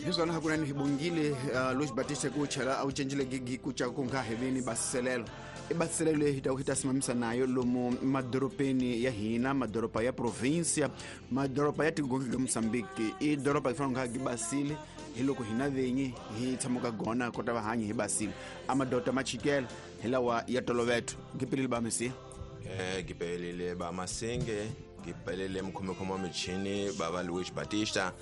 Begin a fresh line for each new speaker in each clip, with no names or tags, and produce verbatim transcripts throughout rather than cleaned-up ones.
Hi swona hakunene hi bongile uh, Luis Batista ku chela a wu cencile gigi ku ca ku nga heveni basiselelo. I basiselelo leyi hi ta hi ta simamisa nayo lomu madorobeni ya hina, madoroba ya provincia, madoroba ya tigongi ga Mozambique. I doroba yi fanele nga gi basile hi loko hina venyi hi tshamuka gona kota va hanyi hi basile. A madota ma chikela hi lawa ya toloveto. Gipelile ba Mesiya.
Eh gipelile ba Masinge, gipelile mkhomekhomo wa michini baba Luis Batista.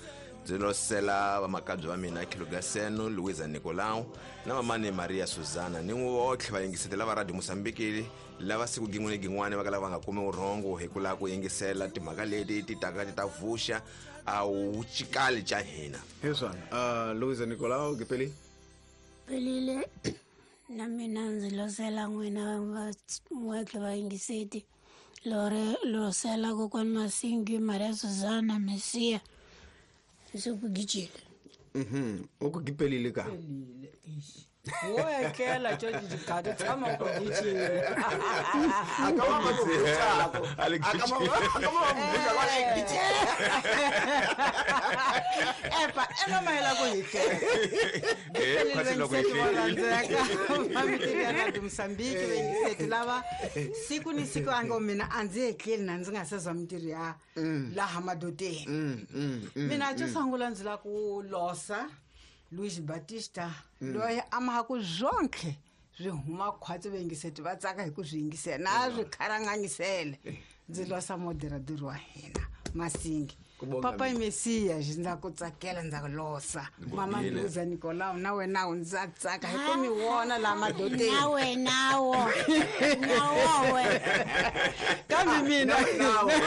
Ndzi losela vamakabye va mina Khilugaseno, Luisa Nicolau na mamani Maria Susana ni votlhe va yingisetela va Radio Mozambique lava siku gin'we ni gin'wana va kala va nga kumi vurhongo hi ku lava ku yingisela timhaka leti ti taka ti ta vuxa a wu chikali ca hina.
Hi swona. Uh, Luisa Nicolau gipeli.
Pelile na mina ndzi losela n'wina va n'wetlhe va yingiseti. Lore losela kokwani Masingi, Maria Susana, Mesiya. Sekugijile.
Mhm. Ukugipelile ka.
Wo etlela tjo dikgadi tshama go gijile.
Akama ba go Akama akama ba go ba gijile.
Epa ena maela go hitlela.
Eh kwasi loko
hitlela. Mami tiva Mozambique vengiseti lava siku ni siku ango mina a ndzi etleli na ndzi nga se za mintirho ya laha madoteni. Mina xo sungula ndzi la ku losa Luis Batista loyi a ma ku zonke swi huma khwatsi vengiseti va tsaka hi ku swi yingisela na swi kharangangisele. Ndzi losa moderador wa hina Masingi. Papa Mesiya ndza ku tsakela ndza ku losa. Mama Luisa Nicolau na wena u ndza tsaka hi ku mi vona la madoteni.
Na wena wo. Na wowe.
Kambe mina
na wena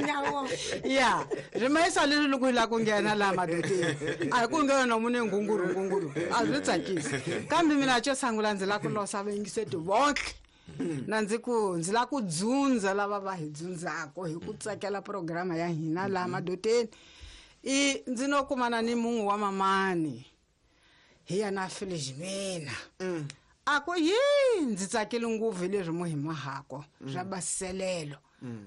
na wo.
Ya, rimayisa leswi loko hi lava ku nghena laha madoteni. A hi ku nghena munhu ngunguru ngunguru. A swi tsakisi. Kambe mina xo sungula ndzi lava ku losa vayingiseti vonke. Na ndzi ku ndzi lava ku dzundza lava va hi dzundzako hi ku tsakela programa ya hina laha madoteni. I ndzi no kumana ni munhu wa mamani hi ya na Felizmina. A ku yi ndzi tsakile ngopfu hi leswi mu hi mahako swa basiselelo.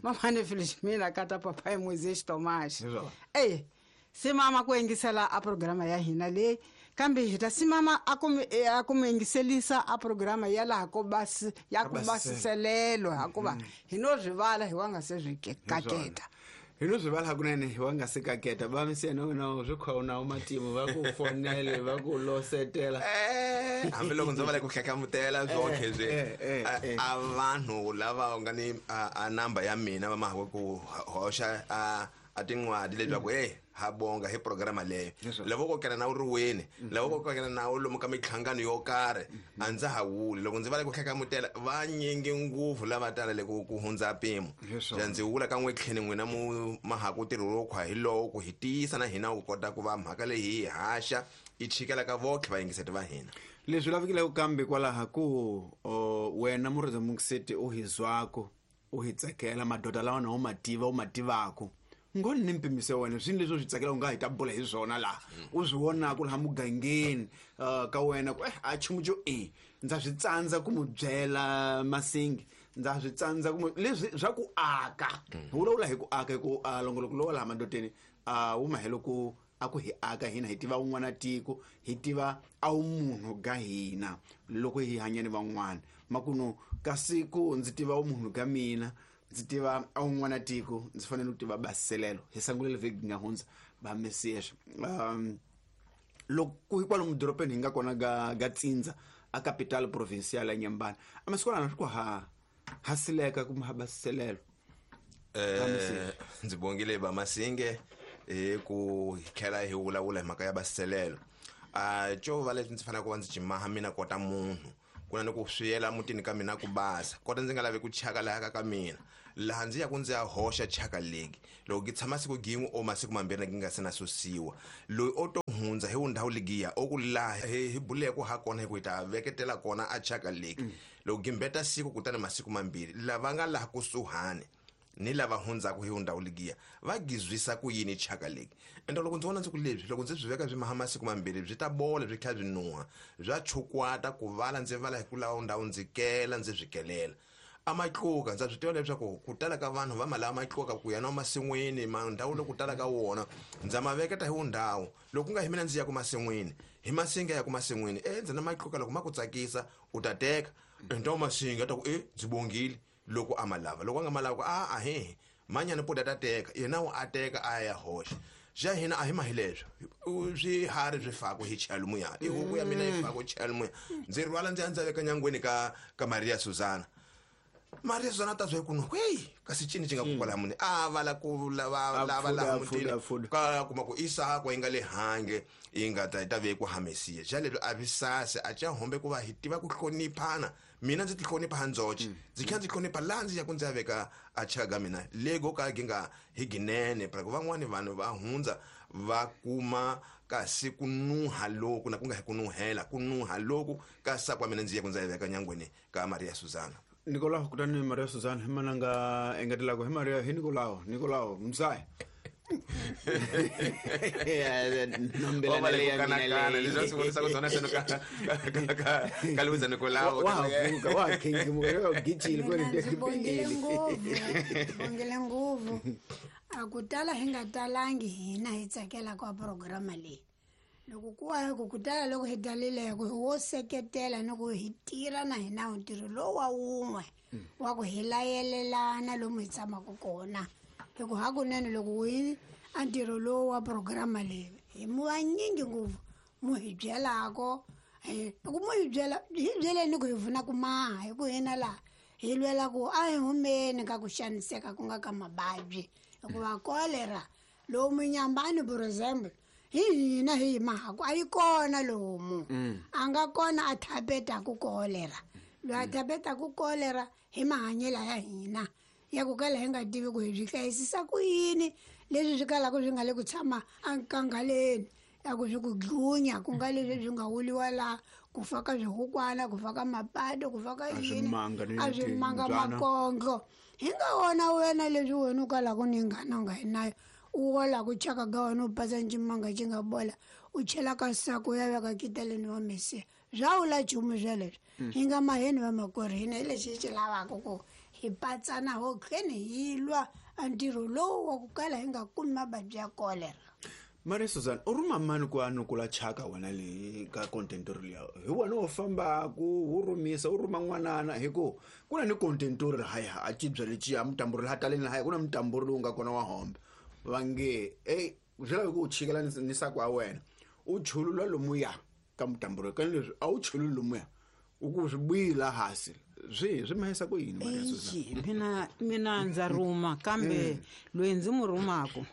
Mamani Felizmina kata papa Moisés Tomás. Eh simama ku yingisela a programa ya hina leyi. Kambe hi ta simama a ku a ku yingiselisa a programa ya laha ko basi ya ku basiselelo hakuva hi no swi vala hi wa nga se swi kaketa.
Hi no swi vala hakunene hi wa nga se kaketa. Va Mesiya na wena swi khona u matimu va ku fonele va ku losetela.
Eh hambiloko ndzi va le ku hlekhamutela zonke swi a vanhu lava nga ni a number ya mina va ma ku hoxa a a tin'wadi leswaku eh ha bonga hi programa leyo. Lavo ko kena na u ri weni, lavo ko kena na u lomu ka mihlangano yo karhi a ndza ha wuli. Loko ndzi va le ku hlekhamutela va nyingi ngopfu lava tala le ku hundza mpimo. Ndzi wula ka n'we tlheni n'wina mu mahaku ntirho lowu khwa hi lowo ku hi tiyisa na hina ku kota ku va mhaka leyi hi haxa yi chikela ka votlhe vayingiseti va hina.
Leswi lavikileke kambe kwalaha ku wena murhandza mungiseti u hi zwako u hi tsakela madoda lawa na u ma tiva u ma tivako. Ngoni ni mpimiso wena swini leswi u swi tsakela u nga hi ta bula hi swona laha u swi vonaka laha mugangeni ka wena ku eh a chumu xo e ndza swi tsandza ku mu byela Masingi, ndza swi tsandza ku mu leswi swa ku aka. Hi vulavula hi ku aka hi ku longoloko lowa laha madoteni a wu mahelo ku a ku hi aka hina hi tiva un'wana tiko hi tiva a wu munhu ga hina loko hi hanya ni van'wana. Makuno ka siku ndzi tiva wu munhu ga mina ndzi tiva a un'wana tiko ndzi fanele ku tiva basiselelo. Hi sangulele vhiki nga hundza ba Mesiya. Um loko hi kwalomu dorobeni hi nga kona ga ga Tsindza a capital provincial ya Nyambana a masiku swi ku ha ha sileka kumbe ha basiselelo.
Eh ndzi bongile ba Masinge hi ku hi tlhela hi vulavula hi mhaka ya basiselelo. A xo va leswi ndzi faneleke ku va ndzi cimaha mina kota munhu ku na ni ku swiyela mutini ka mina ku basa kota ndzi nga lavi ku chaka laha ka ka mina laha ndzi ya ku ndzi ya hoxa chaka legi loko ki tshama siku gin'we o masiku mambirhi ki nga se na susiwa loyi o to hundza hi ndhawu legiya o ku laha hi buleke ha kona hi ku hi ta veketela kona a chaka legi loko gimbeta siku kutani masiku mambirhi lava nga laha kusuhani ni lava hundzaka hi ndhawu legiya va gizwisa ku yini chaka legi. Ende loko ndzi vona ndzi ku leswi loko ndzi byi veka byi maha masiku mambirhi byi ta bola byi tlhela byi nuha bya chukwata ku vala ndzi vala hi ku lava ndhawu ndzi kela ndzi swi kelela. A matluka ndza swi tiva leswaku ku tala ka vanhu va ma lava matluka ku ya na masin'wini ma ndhawu loko tala ka wona ndza ma veketa hi wundhawu loko ku nga hi mina ndzi ya ku masin'wini hi masinga ya ku masin'wini e ndzi na matluka loko ma ku tsakisa u ta teka ndhawu masinga ta ku e ndzi bongile loko a ma lava loko a nga ma lava ku a a he manyana po ta teka yena u a teka a ya hoxa ja hina a hi ma hi leswo swiharhi swi faku hi chela muya i huku ya mina yi faku chela muya ndzi rhwala ndzi ya ndzi veka nyangweni ka ka Maria Susana Maria Susana ta zwe kuno hey kasi chini chinga kukwala muni a vala ku lava lava la mutini ka kuma ku isa ko inga le hange inga ta ta ve ku hamesiya ja leswi a visase a cha hombe ku va hi tiva ku hloniphana mina ndzi ti hlonipha handzoche ndzi kha ndzi hlonipha la ndzi ya ku ndzi ya veka a chaga mina lego ka ginga hi ginene pra ku van'wani vanhu va hundza va kuma kasi ku nuha loku na ku nga hi ku nuhela ku nuha loku ka sakwa mina ndzi ya ku ndzi ya veka nyangweni ka Maria Susana
Nicolao kutani Maria Susana hi mananga engetelako hi Maria hi Nicolao Nicolao mzai
nombela leya mina le leswi swi vonisa ku tsona seno ka ka ka Luisa Nicolao
wa wa king mo gijile ko
ndzi bongile ngopfu bongile ngopfu a ku tala hi nga talangi hina hi tsakela ka programa leyi loko ku wa ku tala loko hi talile ku wo seketela ni ku hi tirha na hina ntirho lowu wa wun'we wa ku hi layelelana lomu hi tshamaka kona hi ku hakunene loko hi a ntirho lowu wa programa leyi hi mu vanyingi ngopfu mu hi byelako ku mu hi byela hi byeleni ku hi pfuna ku maha hi ku hina laha hi lwela ku a hi humeni ka ku xaniseka ku nga ka mavabyi hikuva kolera lomu Nyambani for example hi hina hi mahaku a yi kona lomu a nga kona a thapetaku kolera loyi a thapetaku kolera hi mahanyelo ya hina ya ku kala hi nga tivi ku hi byi hlayisisa ku yini leswi swi kalaka swi nga le ku tshama enkangaleni ya ku swi ku dlunya ku nga leswi swi nga wuliwa laha ku fa ka swihukwana ku fa ka mapato ku fa ka yini a swimanga makondlo hi nga wona wena leswi wena u kalaka ni ngana u nga yi nayo u wala ku chaka ga wena u pasa ncimanga xi nga bola u chela ka sako ya veka kiteleni wa mesiya swa wula nchumu sweleswo hi nga maheni va makwerhu hina hi lexi hi xi lavaka ku hi patsana ho kheni hi lwa a ntirho lowu wa ku kala hi nga kumi mavabyi ya kolera
Maria Susana u rhuma mani ku a nukula chaka wena leyi ka contentori liya hi wena wo fambaku wu rhumisa u rhuma n'wanana hi ku ku na ni contentori haya a cibya leciya mutamburi laha taleni lahaya ku na mutamburi lowu nga kona wa hombe va nge ey swi lavi ku u chikela ni sako wa wena u chulula lomuya ka mutamburi ka leswi a wu chululi lomuya u ku swi buyila hansi swi swi mahisa ku yini Maria Susana
mina mina ndza rhuma kambe loyi ndzi mu rhumako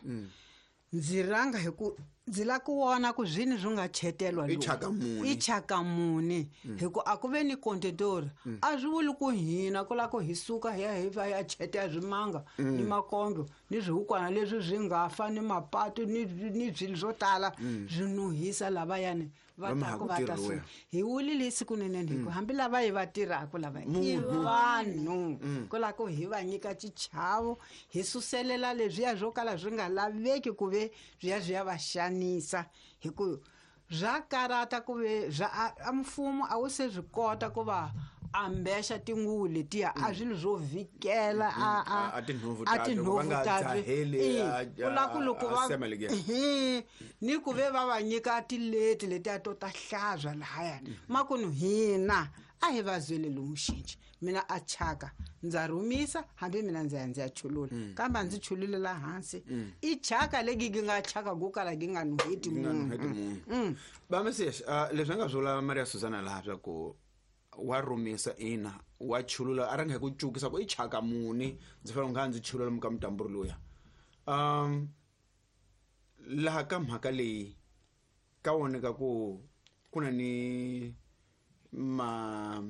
ndzi ranga hi ku ndzi la ku vona ku zwini swi nga chetelwa
i chaka muni
i chaka muni hi ku a ku ve ni contentori a swi vuli ku hina ku la ku hi suka hi ya hi va ya chetela swimanga ni makondlo ni swihukwana leswi swi nga fa ni mapato ni ni swilo swo tala swi nuhisa lavayani va ta ku va ta suka hi wulile siku ninene hi ku hambi lava hi va tirhaka lava i vanhu ku la ku hi va nyika xichavo hi suselela leswiya swo kala swi nga laveki ku ve swi ya swi ya va xanisa hi ku swa karata ku ve swa a mfumo a wu se swi kota ku va ambexa tinguvu letiya a swilo swo vhikela a a
a tinhovu
a tinhovu ta ku la ku loko va ni ku ve va va nyika tileti letiya to ta hlazwa lahayani makunu hina a hi va zwele lomu xinci mina a chaka ndza rhumisa hambi mina ndzi ya ndzi ya chulula kambe a ndzi chululela hansi i chaka legi gi nga chaka ku kala gi nga nuheti munhu
va Mesias leswi a nga vula Maria Susana laha swa ku wa rhumisa ina wa chulula a ranga hi ku cukisa ku i chaka muni ndzi fanele nga ndzi chulula muka mutamburi luya um laha ka mhaka leyi ka voneka ku ku na ni ma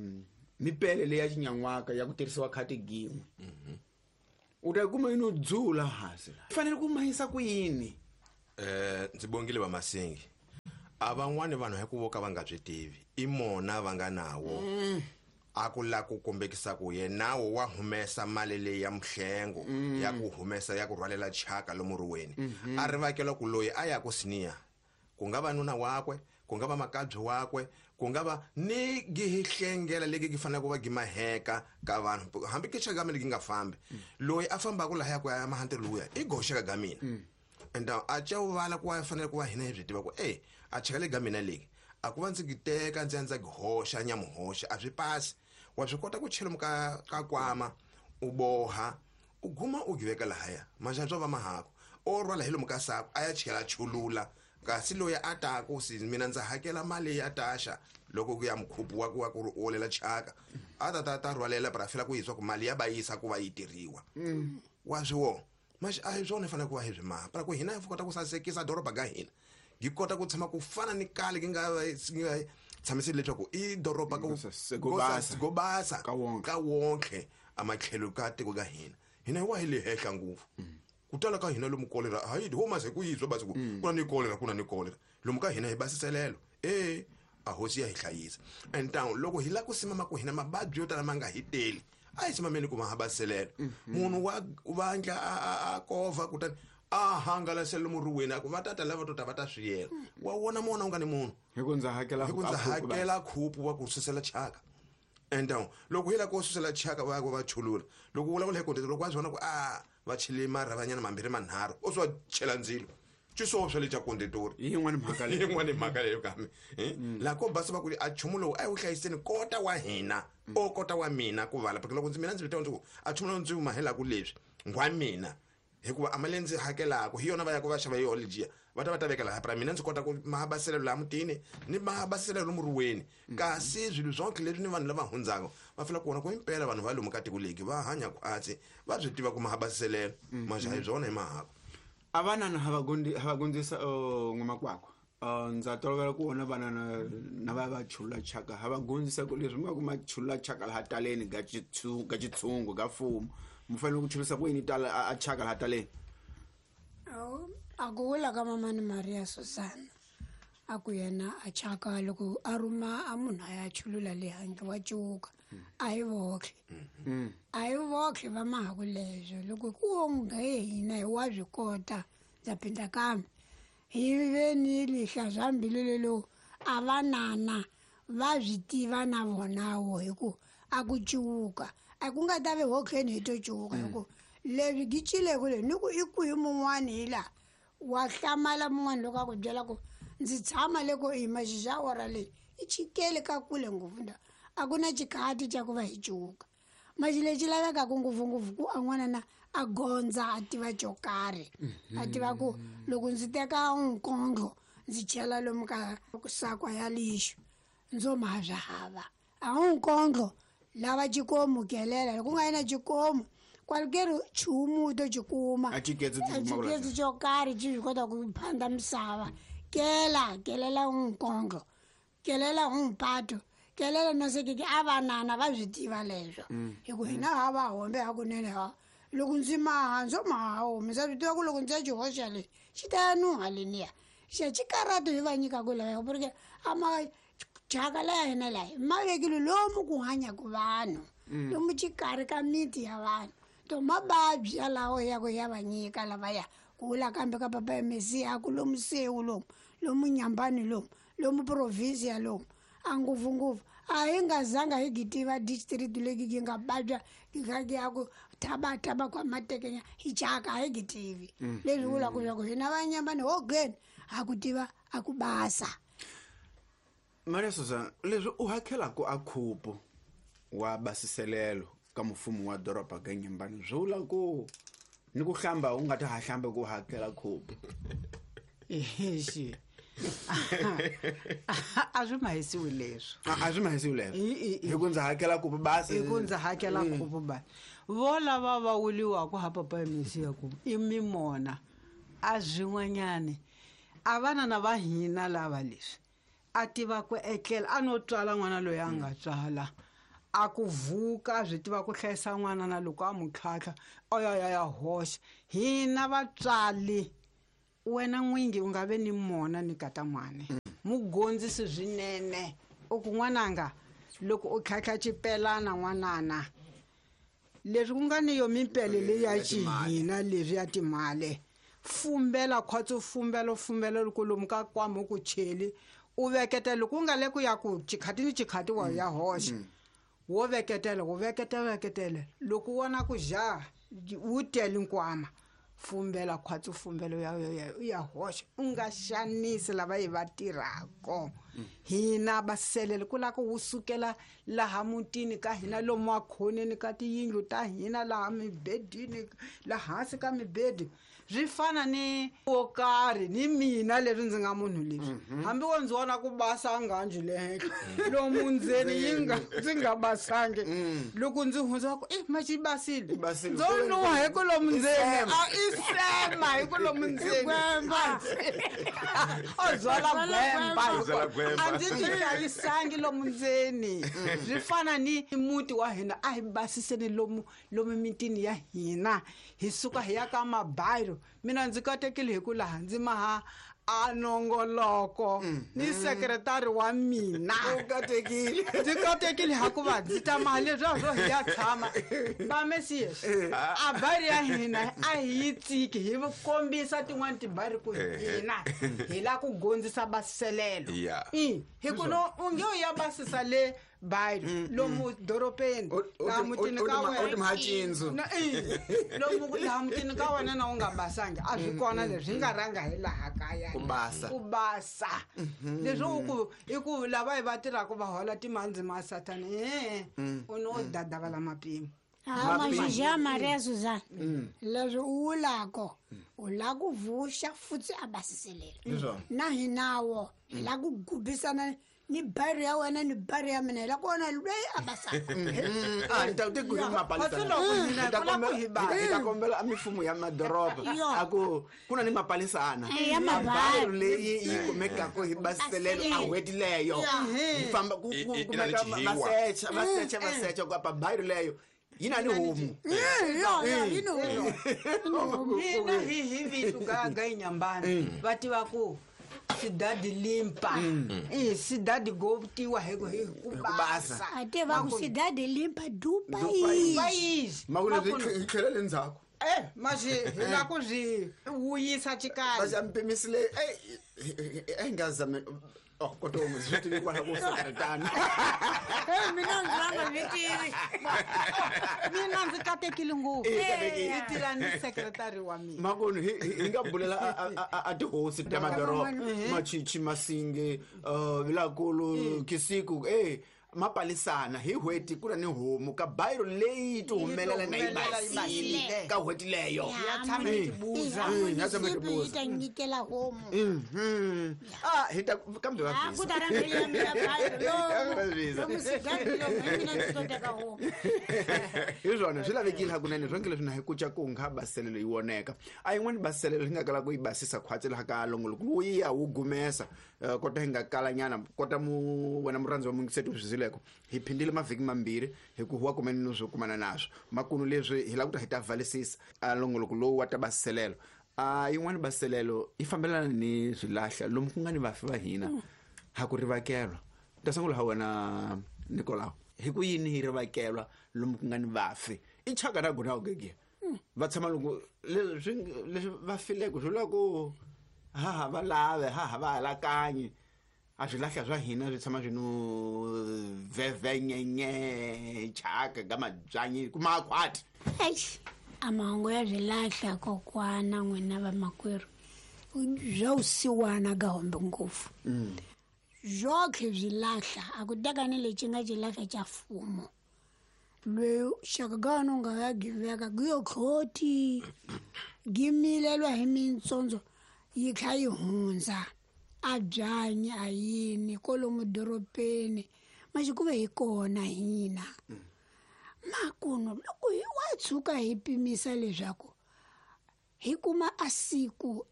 mipele leyi ya xinyan'waka ya ku tirhisiwa khati gin'we u ta kuma yini u dzula hansi la fanele ku mahisa ku yini
eh ndzi bongile va Masingi a van'wani vanhu hi ku vo ka va nga byi tivi i mona va nga nawo a ku la ku kombekisa ku yenawo wa humesa mali leyi ya muhlengo ya ku humesa ya ku rhwalela chaka lomu riweni a ri vakela ku loyi a ya ku siniya ku nga va nuna wakwe ku nga va makabyi wakwe Ku nga va ni gi hlengela legi gi fanele ku va gi maheka ka vanhu hambi ke chaka mina gi nga fambi loyi a fambaka laha ya ku ya mahante luya i goxeka ga mina and a cha vala ku va fanele ku va hina hi byi tiva ku eh a chaka le ga mina legi a ku va ndzi gi teka ndzi ndza gi hoxa nyamuhoxa a swi pasi wa swi kota ku chela muka ka kwama u boha u guma u giveka lahaya manjani va mahako o rhwala hi lomu ka sako a ya chela chulula kasi loyi a taku si mina ndza hakela mali ya taxa loko ku ya mukhupu wa ku wa ku olela chaka a ta ta ta rhwalela para fela ku yiswa ku mali ya ba yisa ku va yi tirhiwa wa swi wo maxi a hi swona fanele ku va hi swi maha para ku hina hi kota ku sasekisa doroba ga hina gi kota ku tshama ku fana ni kale gi nga tshamisile leswaku i doroba ku go basa ka wonke amatlhelo ka tiko ga hina hina wa hi le hehla ngopfu ku tala ka hina lomu kolera hayi homa se ku yizwa basi ku kuna ni kolera kuna ni kolera lomu ka hina hi basiselelo eh a hosi ya hi hlayisa and down loko hi la ku simama ku hina mababyi yo tala ma nga hi teli a hi simameni ku ma ha basiselelo munhu wa vandla a kova kutani a hangalasela muriweni a ku va tata lava to ta va ta swiyela wa wona mona u nga ni munhu
hi ku ndza hakela
hi ku ndza hakela khupu wa ku susela chaka and down loko hi la ku susela chaka va ku va chulula loko vulavula hi kontete loko wa swi vona ku a va chele marhavanyana mambirhi manharhu o swi va chela ndzilo swo swa le xa kondetori
hi yin'wana mhaka
leyi yin'wana mhaka leyo kambe laha ko basa va ku a nchumu lowu a hi wu hlayiseni kota wa hina o kota wa mina ku vala porque loko ndzi mina ndzi vitana ndzi ku a nchumu lowu ndzi wu mahelaku leswi ngwa mina hikuva a mali ndzi hakelaka hi yona va ya ku va xava yona lejiya va ta va ta veka laha para mina ndzi kota ku mahabaselelo laha mutini ni mahabaselelo muriweni kasi swilo swonke leswi ni vanhu lava hundzaka va fela ku vona ku impela vanhu va lomu ka tiko leki va hanya khwatsi va swi tiva ku mahabaselelo manje hi byona hi mahako
a vanana ha va gondzisa n'wamakwakwa ndza tolovela ku vona vanana na va va chulula chaka ha va gondzisa ku leswi mi nga ku ma chulula chaka laha taleni ga ga xitshungu ga mfumo mi fanele ku chulisa ku yini tala a chaka laha taleni
a ku vula ka mamani Maria Susana a ku yena a chaka loko a rhuma a munhu a ya chulula le handle wa cuka a hi vohle a hi vohle va mahaku leswo loko ku onge hina hi wa swi kota ndza phinda kambe hi ve ni lihla swa mbilu lelo a vanana va swi tiva na vonawo hi ku a ku cuka a ku nga ta ve hohleni hi to cuka hi ku leswi gi cileku le ni ku i kwihi mun'wani hi laha wa hlamala mun'wani loko a ku byela ku ndzi tshama le ko yima xixa ora leyi i chikele ka kule ngopfu nda a ku na xikhati xa ku va hi cuka maxi lexi lavekaka ngopfungopfu ku a n'wanana a gondza a tiva xo karhi a tiva ku loko ndzi teka nkondlo ndzi chela lomu ka sakwa ya lixo ndzo maha swa hava a wu nkondlo lava xikomu kelela loko ku nga yi na xikomu kwalukeri nchumu to xi kuma
a
xiketsi xo karhi xi swi kota ku phanda misava kela kelela nkondlo kelela mpato kelela no sekeke a vanana va swi tiva leswo hi ku hina ha va hombe hakunene ha loko ndzi maha ndzo maha homi ndza swi tiva ku loko ndzi ya xi hoxa le xi ta ya nuha leniya xa xikaratu hi va nyikaku laya porque a ma chaka laya hina laya ma vekile lomu ku hanyaku vanhu lomu xikarhi ka miti ya vanhu to mababyi yalawo ya ku ya va nyika lavaya ku vula kambe ka papa ya Mesiya ku lomu Sewu lomu lomu Nyambani lomu lomu provinsia lomu a ngopfungopfu a hi nga zanga hi gi tiva district leki gi nga babya gi kha gi ya ku thabathaba kwa matekenya hi chaka a hi gi tivi leswi vulaka leswaku hina va Nyambani hogeni ha ku tiva a ku basa
Maria Susana leswi u hakelaku a khupu wa basiselelo ka mfumo wa doroba ga Nyambani swi vula ku ni ku hlamba u nga ta ha hlamba ku hakela khupu
exi a swi mahisiwi leswo
a swi mahisiwi leswo hi ku ndza hakela khupu basi
hi ku ndza hakela khupu basi vo lava va wuliwaku ha papa ya Mesiya ku i mimona a swin'wanyani a vanana va hina lava leswi a tiva ku etlela a no tswala n'wana loyi a nga tswala a ku vuka swi tiva ku hlayisa n'wana na loko a mu tlhatlha o ya ya ya hoxa hina vatswali wena n'wingi u nga ve ni mona ni kata n'wana mugondzisi swinene u ku n'wananga loko u tlhatlha xipelana n'wanana leswi ku nga ni yo mimpele leyi ya xihina leswi ya timali fumbela khwatsi fumbela fumbela loko lomu ka kwama ku cheli U veketela loko u nga le ku ya ku chikhati ni chikhati wa ya hoxa. Wo veketela, wo veketela, veketela. Loko u vona ku ja wu tele nkwama, fumbela khwatsi fumbelo ya ya ya hoxa. U nga xanisi lava hi va tirhaka. Hina baselele ku lava ku wu sukela laha mutini ka hina lomu makhoneni ka tiyindlu ta hina laha mibedini laha hansi ka mibedi. Swi fana ni wo karhi ni mina leswi ndzi nga munhu leswi. Hambi wo ndzi vona ku basa nghanji le henhla lomu ndzeni yi nga ndzi nga basangi. Loko ndzi hundza ku eh ma xi basile. Ndzo nuha hi ku lomu ndzeni. A i sema hi ku lomu ndzeni. O byala gwemba. A ndzi ti hlayisangi lomu ndzeni. Swi fana ni muti wa hina a hi basiseni lomu lomu mitini ya hina. Hi suka hi ya ka mabayiro. Mina ndzi katekile hi ku laha ndzi maha a nongoloko ni sekretari wa mina.
U katekile.
Ndzi katekile hikuva ndzi ta maha leswiya swo hi ya tshama. Va Mesias, a bari ya hina a hi yi tsiki hi kombisa tin'wani tibari ku hina hi la ku gondzisa baselelo. I hi ku no u nge u ya basisa le bayiro lomu doropeni laha mutini ka wena.
U ti macindzo.
Na i lomu laha mutini ka wena na u nga basangi a swi kona leswi nga rhanga hi laha kaya.
Ku basa.
Ku basa. Leswi u ku i ku lava hi va tirhaka va hola timhandzi ma Sathana eh u no dadavala mapimo.
Ah, Majija Maria Suzana. Leswi u vulako u lava ku vuxa futhi a basiselela. Na hinawo hi lava ku gubisana ni bari ya wena ni bari ya mina hi lava ku vona loyi a basaka.
Ah, ni ta ku hi mapalisana. Hi ta kombela hi ta kombela a mifumo ya madoroba a ku ku na ni mapalisana.
Ya
Mabayiro leyi yi kumekaka hi basiselelo a n'hweti leyo. Hi famba ku kumeka va secha va secha va secha ku apa bayiro leyo yi na ni homu.
Yo yo yi ni homu.
Hina hi hi vitu ga ga inyambana va tiva ku sidadi limpa. Eh sidadi go tiwa hi ku hi ku basa.
A tiva ku sidadi limpa dupa yi.
Makulu hi tlhela le ndzhaku.
Eh maxi hi la ku swi wuyisa xikaya.
Va xa mpimisile eh eh nga zame oh kodwa swi tivi kwala ku sekretana.
Eh mina ndzi nga swi tivi.
Mina ndzi katekile ngopfu. Hi tirha ni sekretari wa mina.
Makunu hi hi nga bulela a tihosi ta madoroba Machichi Masinge Vilakulu Kisiku eh mapalisana hi n'hweti ku na ni homu ka bayiro leyi ti humelela na yi basile ka n'hweti leyo.
Ya tshama yi tibuza.
Ya tshama yi tibuza.
Yi ta nyikela homu.
Mhm. Ah hi ta kambe va
Ah ku ta rhangela mina bayiro. Lomu sidadi lomu mina ndzi to teka homu.
Hi swona swi lavekile hakunene swonke leswi na hi kuca ku nga baselelo yi voneka. A yin'wani baselelo hi nga kala ku yi basisa khwatsi laha ka longoloko wu ya wu gumesa kota hi nga kalanyana kota mu wena murhandzi wa mungiseti swi leko hi phindile mavhiki mambirhi hi ku huwa kumene no swo kumana naswo makunu leswi hi lava ku ta hi ta valisisa a longoloko lowu wa ta baselelo. A yin'wani baselelo yi fambelana ni swilahla lomu ku nga ni vafi va hina ha ku rivakelwa. Ta sungula ha wena Nicolau hi ku yini hi rivakelwa lomu ku nga ni vafi i chaka na gona gege va tshama loko leswi leswi va fileko swi vula ku ha ha va lave ha ha va alakanyi a swilahla swa hina swi tshama swi no vevenyenye chaka ka mabyanyi kuma khwati.
Eish a mahungu ya swilahla kokwana n'wina vamakwerhu bya vusiwana ga hombe ngopfu. Byoke swilahla a ku teka ni lexi nga xilahla xa mfumo loyi xaka ga wena u nga ya giveka ku yo khoti gimilelwa hi mintsondzo yi kha yi hundza a byanyi a yini kolomu doropeni maxi ku ve hi kona hina. Makuno loko hi wa tshuka hi pimisa leswaku hi kuma a siku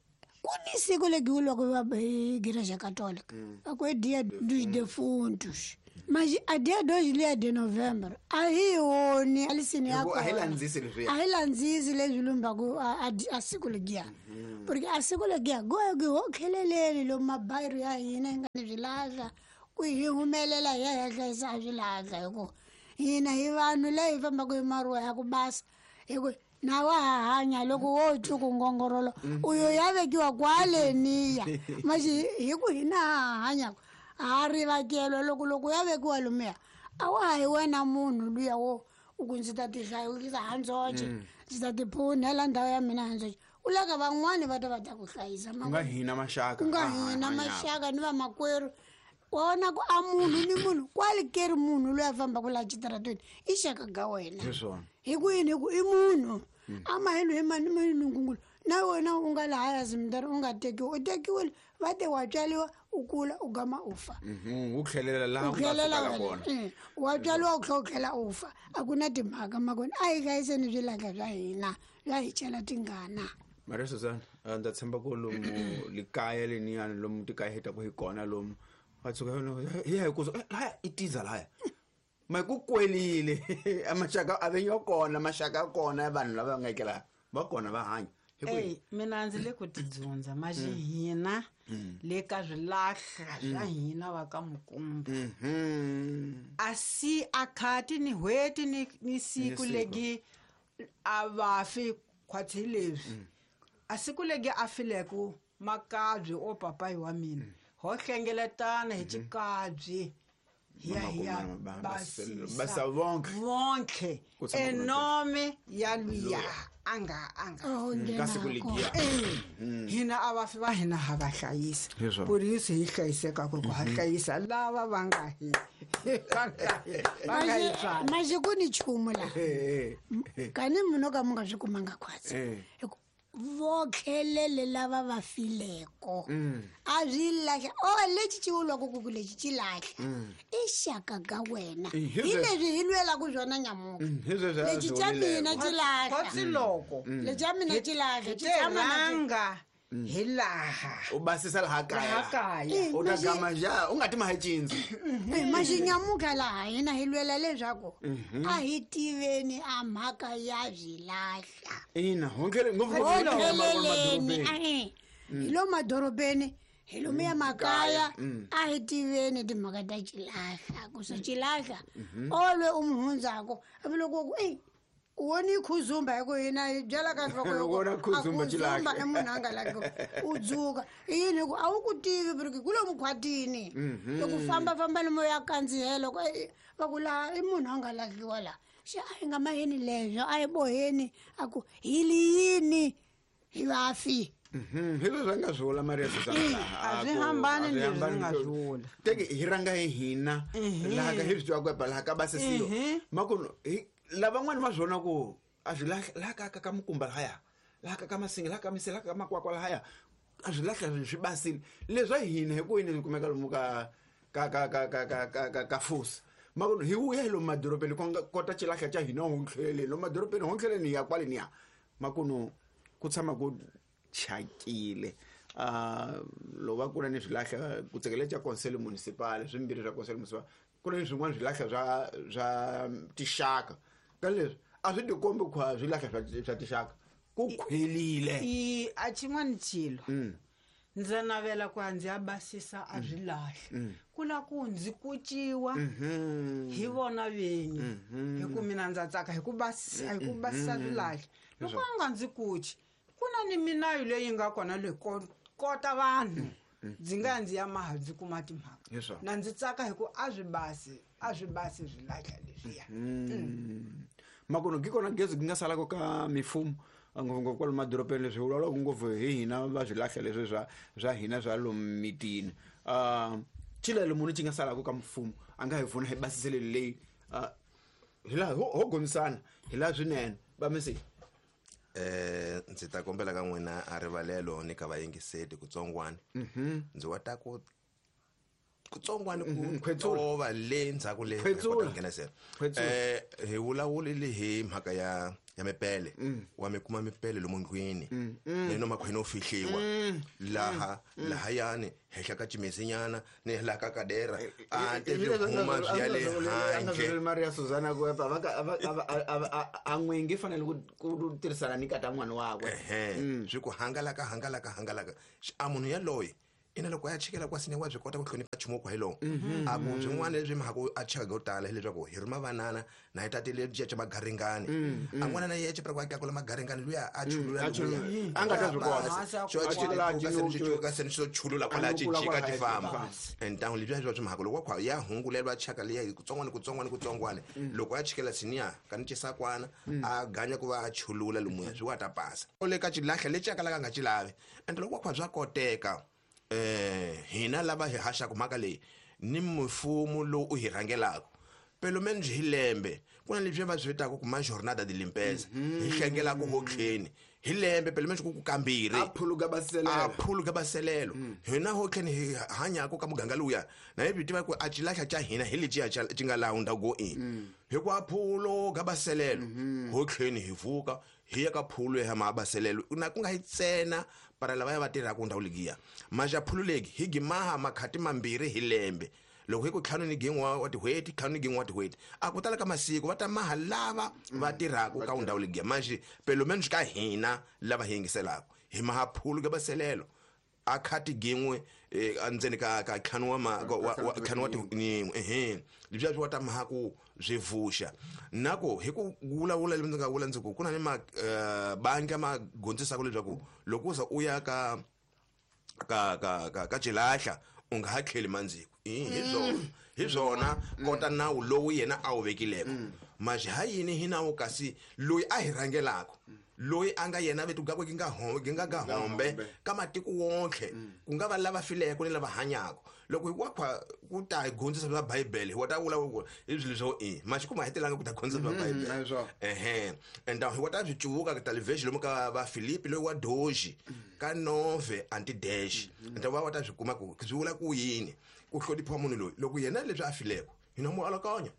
ku ni siku legi loko va hi igreja católica a ku é dia dos defuntos mas a dia dois lia de novembro a hi woni alisini ya
a hi landzisi leswiya
a hi landzisi leswi lumbaku a siku legiya porque a siku legiya go go ho kheleleni lomu mabayiro ya hina hi nga ni swilahla ku hi humelela hi ya hi ya hlayisa a swilahla hi ku hina hi vanhu la hi fambaka hi maruwa ya ku basa hi ku na wa ha hanya loko wo twa ku ngongorolo uyo ya vekiwa kwaleniya maxi hi ku hina ha hanyaka A ri vakelwa loko loko ya vekiwa lomuya a wa ha hi wena munhu luya wo u ku ndzi ta tihlayisa handzoxe ndzi ta tiphunela ndhawu ya mina handzoxe u laka van'wani va ta va ta ku hlayisa
ku nga hina maxaka
ku nga hina maxaka ni vamakwerhu wa vona ku a munhu ni munhu kwale ke ri munhu loyi a fambaka laha xitaratweni i xaka ga wena
hi swona
hi ku yini hi ku i munhu a mahelo hi mani mani ngungulu na wena u nga lahaya zimdari u nga tekiwi u tekiwile va te wa tswaliwa u kula u gama u fa
u tlhelela laha
u
u nga
tlhelela
sukela
wena
kona
Eh, wa tswaliwa u tlhela u tlhela u fa a ku na timhaka makona a hi hlayiseni swilahla swa hina swa hi chela tingana
Maria Susan ndza tshemba ku lomu likaya leniyani lomu tikaya hi taku hi kona lomu va tshuka hi ya hi ku laya i tiza laya ma ku kwelile a maxaka a ve yo kona maxaka ya kona ya vanhu lava nga ekela va kona va hanya hi ku
Ey, mina ndzi le ku tidzundza maxi hina le ka swilahla swa hina va ka Mukumba
Mhm.
a si a khati ni n'hweti ni ni siku
siku.
legi a vafi khwatsi hi leswi a siku legi a fileku makabyi o papayi wa mina ho hlengeletana hi xikabyi hi ya hi ya
Ba- ba-
basisa
basa vonke.
vonke
Ku tshama ku ri
enome ya luya a nga a nga
Oh,
ka siku
nghenako.
legiya
Eh, hina a vafi va hina ha va hlayisa
Hi swona.
ku ri yisi hi hlayiseka ku ku ha hlayisa lava va nga hi va nga hi va nga hi tswala
maxi ku ni nchumu laha
Eh, eh.
kani munhu ka mu nga swi kumanga khwatsi
Eh.
Hi ku votlhelele lava va fileko a swi lahla o lexi ci vulwaku ku ku lexi ci lahla i xaka ka wena
Eh, hi
hi
sweswo.
leswi hi lwelaku swona nyamuka
Mm, hi sweswo a
lexi
swi
xa
vulileko.
mina ci lahla
khotsi loko
lexi xa mina ci lahla
hi
xi
te
tshama na xi-
rhanga hi laha
u basisa laha kaya
laha kaya
u ta gama ja u nga ti maha cindzi
Eh, maxinyamuka laha hina hi lwela leswaku a hi tiveni a mhaka ya swilahla
ina hontlhele ngopfu
tlheleleni ae hi lo madorobeni hi lomuya makaya a hi tiveni timhaka ta xilahla ku swa xilahla olwe u mu hundzako hambi loko ku ei u woni khuzumba hi ku hina hi byela ka nhloko
Loko u vona khuzumba xilahla.
i munhu a nga laki u dzuka i yini hi ku a wu ku tivi porque ku lomu khwatini loko fambafamba lomu ya kandzihela ku "Ei, va ku laha i munhu a nga lahliwa laha xe a hi nga maheni leswo a hi boheni a ku hi li yini hi vafi
Mhm, hi leswi a nga swi vula Maria Susan
A swi hambani ni leswi ni nga swi vula.
teke hi rhanga hi hina laha ka hi swi tivaka ku laha ka basisiwa makunu hi lavan'wani va swi vona ku a swi lahla laha ka ka ka Mukumba lahaya laha ka ka Masinga laha ka Misela laha ka Makwakwa lahaya a swi lahla swi basile leswa hina hi ku yini swi kumeka lomu ka ka ka ka ka ka ka ka ka fusa makunu hi vuya hi lomu madorobeni ku nga kota xilahla xa hina hontlheleni lomu madorobeni hontlheleni hi ya kwale niya makunu ku tshama ku chakile uh loko va ku na ni swilahla ku tsekele xa consel municipal swimbirhi swa consel municipal ku na ni swin'wana swilahla swa swa tixaka ka leswi a swi tikombi ku a swilahla swa swa tixaka ku khwelile
i a xin'wana xilo ndza navela ku ya ndzi ya basisa a swi lahla ku la ku ndzi kuciwa hi vona vinyi hi ku mina ndza tsaka hi ku basisa hi ku basisa swilahla loko a nga ndzi kuci ku na ni minayo leyi nga kona leyi ko- kota vanhu ndzi nga ya ndzi ya maha ndzi kuma timhaka
Hi swona.
na ndzi tsaka hi ku a swi basi a swi basi swilahla leswiya
makunu ki kona gezi ku nga salaka ka mifumo ngopfungopfu kwalomu madorobeni leswi hi vulavulaka ngopfu hi hina va swilahla leswi swa swa hina swa lomu mitini um xilelo munhu xi nga salaka ka mfumo a nga hi pfuna hi basiseleni leyi ah, hi laha ho ho gomisana hi laha swinene va misi
eh ndzi ta kombela ka n'wina a rivalelo ni ka vayingiseti kutsongwana ndzi wa ta ku kutsongwana ku
khwetsula.
tova le ndzhaku le
Khwetsula.
hi kota ku nghenisela.
Khwetsula.
eh hi vulavulile hi mhaka ya ya mipele wa mi kuma mipele lomu ndlwini ni no makhwini o fihliwa laha lahayani henhla ka cimesinyana ni laha ka kadera a te swi huma swi ya le handle
Maria Susana ku epa va ka- a va- a va- a va- a- a n'wingi fanele ku ku tirhisana ni kata n'wana wakwe
ehe swi ku hangalaka hangalaka hangalaka Xi- a munhu yaloye Ina loko ya chikela kwasini wa byi kota ku hlonipha nchumu kwa hi lowu a ku byin'wana lebyi mhaka a cheka go tala hileswaku hi rhuma vanana na hi tatile byi cha magaringani a n'wana na yeye chipra kwa ka kula magaringani luya a chulula
a nga ta byi kota
xo chela ka seni xo chulula kwala ci jika ti famba and down lebyi bya mhaka loko kwa ya hungulelwa chaka liya hi kutsongwana kutsongwana kutsongwana loko a chikela siniya ka ni chisakwana a ganya ku va a chulula lumuya swi wa ta pasa ole ka chilahla lexi ka la nga chilavi and loko kwa bya koteka eh hina lava hi haxaka mhaka leyi ni mfumo lowu u hi rhangelaka pelo menos hi lembe ku na leswi va swi vitaka ku ma jornada de limpeza hi hlengelaka hotlheni hi lembe pelo menos ku ku kambirhi
a phuluka baselelo
a phuluka baselelo hina hotlheni hi hanyaka ka muganga luya na hi tiva ku a xilahla xa hina hi leciya xi nga laha ndhawu go in hi ku a phuluka baselelo hotlheni hi vuka hi ya ka phulu ya mabaselelo na ku nga hi tsena para lava ya va tirhaka ndhawu legiya maja phululeki hi gimaha makhati mambirhi hi lembe loko hi ku ntlhanu ni gin'we wa tin'hweti ntlhanu ni gin'we wa tin'hweti a ku tala ka masiku va ta maha lava va tirhaka ka ndhawu legiya manje pelo menos ka hina lava hi yingiselaka hi maha phulu ka baselelo a khati gin'we endzeni ka ka ntlhanu wa ntlhanu wa tin'we ehe leswi swi wa ta maha ku swi vuxa na ku hi ku vulavula leswi ndzi nga vula ndzi ku ku na ni mabangi ma gondzisaka leswaku loko u za u ya ka ka ka ka ka xilahla u nga ha tlheli mandziko hi swona hi swona kota nawu lowu yena a wu vekileko manje ha yini hi nawu kasi loyi a hi rhangelaka loyi a nga yena vetu gakwe gi nga gi nga ga hombe ka matiko wonke ku nga va lava fileko ni lava hanyaka loko hi kwa ku ta hi gondzisa bya bibele hi wa ta vula ku i swilo swo i manje ku ma hetelanga ku ta gondzisa bya bibele ehe and hi wa ta swi cuvuka ka television lomu ka va Philippe loyi wa doji ka nove anti dash and va wa ta swi kuma ku swi vula ku yini ku hlonipha munhu loyi loko yena leswi a fileko hina mu alakanya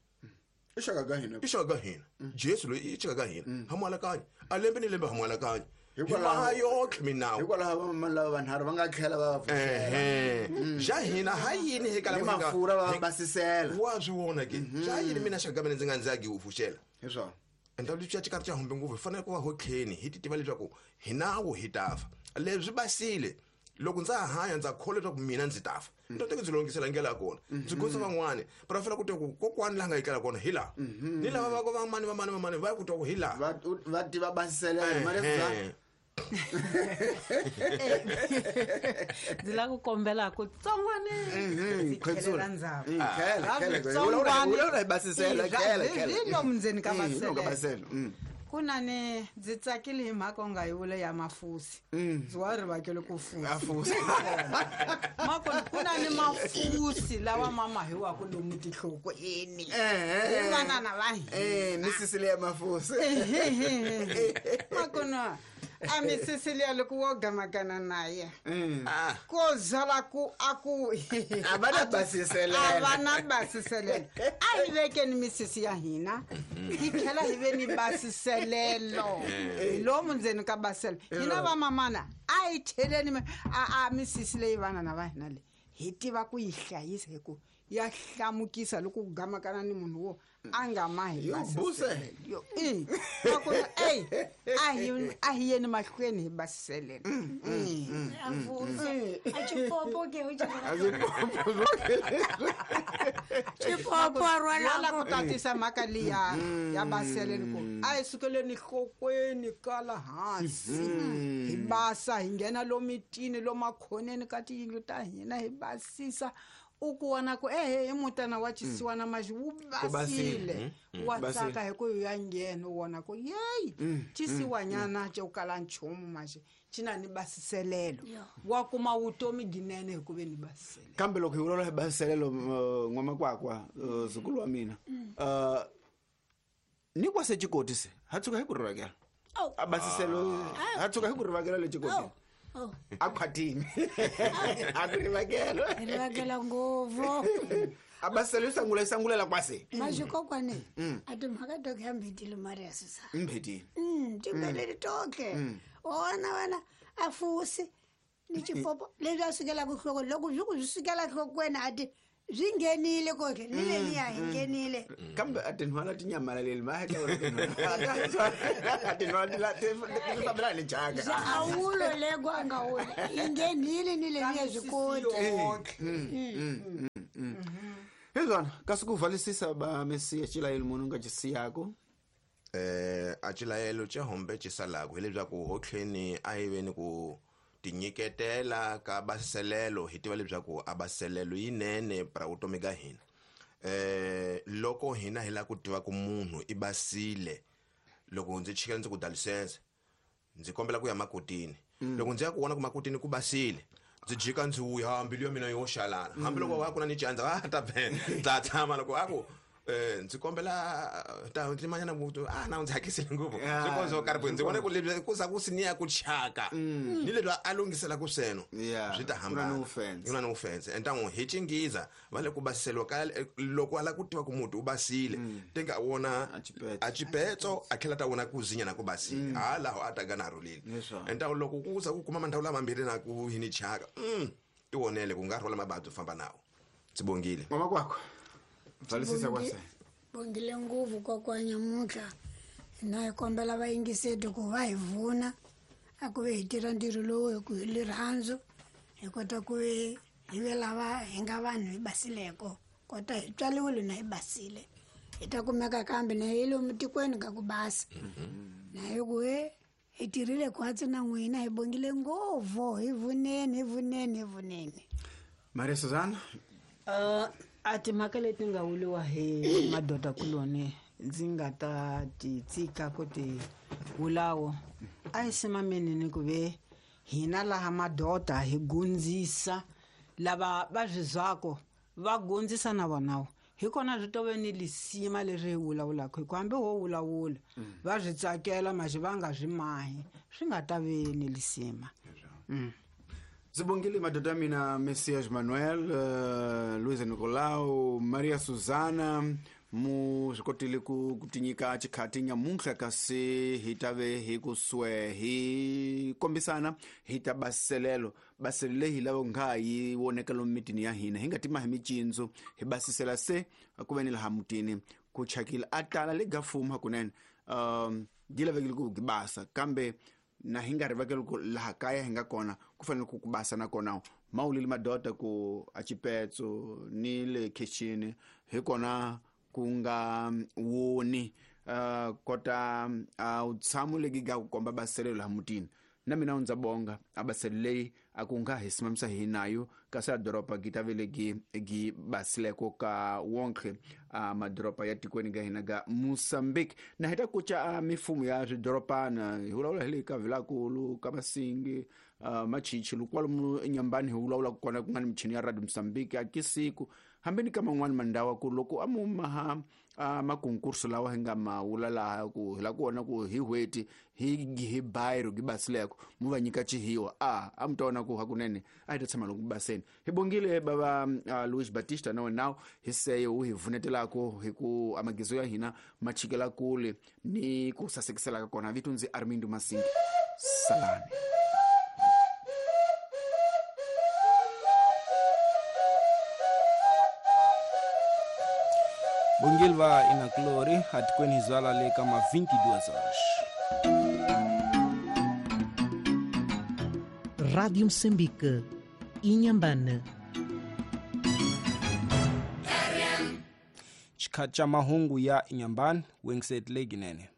i xaka ka hina
i xaka ka hina Jesu loyi i xaka ka hina ha mu alakanya a lembe ni lembe ha mu alakanya hikwalaho yotlhe minawu
hikwalaho vamamani lava vanharhu va nga tlhela va va
pfuxela xa hina ha yini hi kala
mafurha va basisela
wa swi vona ke xa yini mina xaka ka mina ndzi nga ndzi ya gi pfuxela
hi swona
enda leswi xa xikarhi xa humbe ngopfu hi fanele ku va hotlheni hi ti tiva leswaku hi nawu hi ta fa leswi basile loko ndza hanya ndza kholwa leswaku mina ndzi ta fa ndzi teka ndzi longisela ndlela ya kona ndzi gonza van'wani para fanele ku twa ku kokwani laha nga yi tlela kona hi laha ni lava va va mani va mani va mani va ku twa ku hi laha
va va tiva basisela mali bya
ndzi lava ku kombela ku tsongwane ndzi tlhelela ndzhaku hi lomu ndzeni ka basela ku na ni ndzi tsakile hi mhaka u nga yi vula ya mafusi ndzi wa rivakele ku fusi mako ku na ni mafusi lawa ma mahiwaka lomu tinhlokweni hi vanana va hina
misisi leya mafusi
makona a misisi liya loko wo gamakana na ye ko zala ku a ku
a va na basiselelo
a va na basiselelo a hi vekeni misisi ya hina hi tlhela hi ve ni basiselelo hi lomu ndzeni ka baselo hina vamamana a hi cheleni a a misisi leyi vanana va hina leyi hi tiva ku yi hlayisa hi ku ya hlamukisa loko ku gamakana ni munhu wo a nga mahi yo i nakona ey a hi a hi yeni mahlweni hi basiselelo
a xipopo ke u xipopo a rhwala
ku tatisa mhaka liya ya baseleni ku a hi sukeleni nhlokweni kala hansi hi basa hi nghena lomitini lomakhoneni ka tiyindlu ta hina hi basisa u ku vona ku ehe i mutana wa xisiwana maxi wu basile wa tsaka hi ku ya nghena u vona ku yeyi xisiwanyana xo kala nchumu maxi xi na ni basiselelo wa kuma vutomi byinene hi ku ve ni basiselelo
kambe loko hi vulavula hi basiselelo n'wamakwakwa zukulu wa mina ni kwa se xikoti se ha tshuka hi ku rivakela a basiselo ha tshuka hi ku rivakela le xikotini a khwatini a ku rivakela
rivakela ngopfu
a basiselo yi sangula yi sangulela kwase
maxikokwani a timhaka toke ya mbhetile mari ya sisa
mbhetile
timbeleli toke wona wena a fusi ni xipopo leswi a sukelaka nhlokweni loko swi ku swi sukela nhlokweni a ti Byi nghenile koke ni leliya hi nghenile.
Kambe a tinhwala ti nyamalaleli ma hatla vona tinhwala. A tinhwala ti la ti ti fambelana ni chaka.
A wulo lego a nga wuli yi nghenile ni leliya byi koti.
Hezwana kasi ku valisisa ba Mesiya xilayelo munhu nga xisiyako.
Eh a xilayelo xa hombe xisalako hileswaku hotlheni a hi veni ku tinyiketela ka baselelo hi tiva leswaku a baselelo yinene para vutomi ka hina. Eh loko hina hi la ku tiva ku munhu i basile loko ndzi chika ndzi ku dalisense ndzi kombela ku ya makotini. Loko ndzi ya ku vona ku makotini ku basile ndzi jika ndzi vuya mbilu ya mina yo xalala hambiloko wa ku na ni chandza a ta ta tshama loko a ku eh ndzi kombela ta ndzi manyana mutu a na ndzi hakisile ngopfu swi konzo karhi ndzi vona ku lebyi ku za ku siniya ku chaka ni lebyi a lungisela ku sweno swi ta hambana ku na offense entangu hi chingiza va le ku basiseliwa ka loko ala ku tiva ku mutu u basile tenga wona a chipetso a tlhela ta wona ku zinya na ku basile ha laho a ta gana rhulile entangu loko ku za ku kuma mandhawu lamambirhi na ku hini chaka ti wonele ku nga rhola mabadzu famba nawo tsibongile
mama kwakho valisisa kwase
bongile nguvu kokwanya mutlha na hi kombela vayingiseti ku va hi vuna a ku ve hi tirha ntirho lowu hi ku hi lirhandzu hi kota ku hi ve lava hi nga vanhu hi basileko kota hi tswaliwile na hi basile hi ta kumeka kambe na hi lomu tikweni ka ku basa na hi ku he hi tirhile khwatsi na n'wina hi bongile ngopfu hi vuneni hi vuneni hi vuneni.
Maria Susana
uh a timhaka leti nga vuliwa hi madoda kuloni ndzi nga ta ti tsika ku ti vulawo a hi simameni ni ku ve hina laha madoda hi gundzisa lava va swi zwako va gundzisa na vonawo hi kona swi tove ni lisima leswi hi vulavulaka hi ku hambi ho vulavula va swi tsakela maxi va nga swi mahi swi nga ta ve ni lisima.
Zibongile madoda mina Messias Manuel, uh, Luisa Nicolau, Maria Susana mu swi kotile ku ku tinyika xikhati nyamuntlha kasi hi ta ve hi ku swe hi kombisana hi ta baselelo baselelo leyi hi lava nga yi voneka lomu mitini ya hina hi nga tima hi micindzu hi basisela se ku ve ni laha mutini ku chakile a tala le ga fuma hakunene um yi lavekile ku basa kambe na hi nga rivakeli ku laha kaya hi nga kona ku fanele ku ku basa na kona mawulile madoda ku a chipetso ni le kitchen hi kona ku nga woni uh, kota uh, tshamo legi ga ku komba baselelo laha mutini na mina ndza bonga a baselelo leyi a ku nga hi simamisa hi nayo kasi a doroba gi ta vele gi gi basileko ka wonke a madoroba ya tikweni ga hina ga Mozambique na hi ta kuca a mifumo ya swidorobana hi vulavula hi le ka Vilakulu ka Masingi uh, Machichi kwalomu eNyambani hi vulavula kona ku nga ni michini ya Radio Mozambique a kisiku hambi ni ka man'wani mandawa ku loko a mu maha a makonkurso lawa hi nga ma wula laha ku hi la ku vona ku hi hweti hi hi bayiro gi basileko mu va nyika chihiwa a a mu ta vona ku hakunene a hi ta tshama loko baseni hi bongile bava uh, Luis Batista na wena hi seyo u hi vunetelako hi ku amagizo ya hina ma chikela kule ni ku sasekisela ka kona vito ndzi Armindo Masingi salani.
Bongilva inaklori atikweni zwala le kama vinte e duas horas.
Rádio Moçambique, Inhambane.
Chikhacha mahungu ya Inhambane, Wengset Leginene.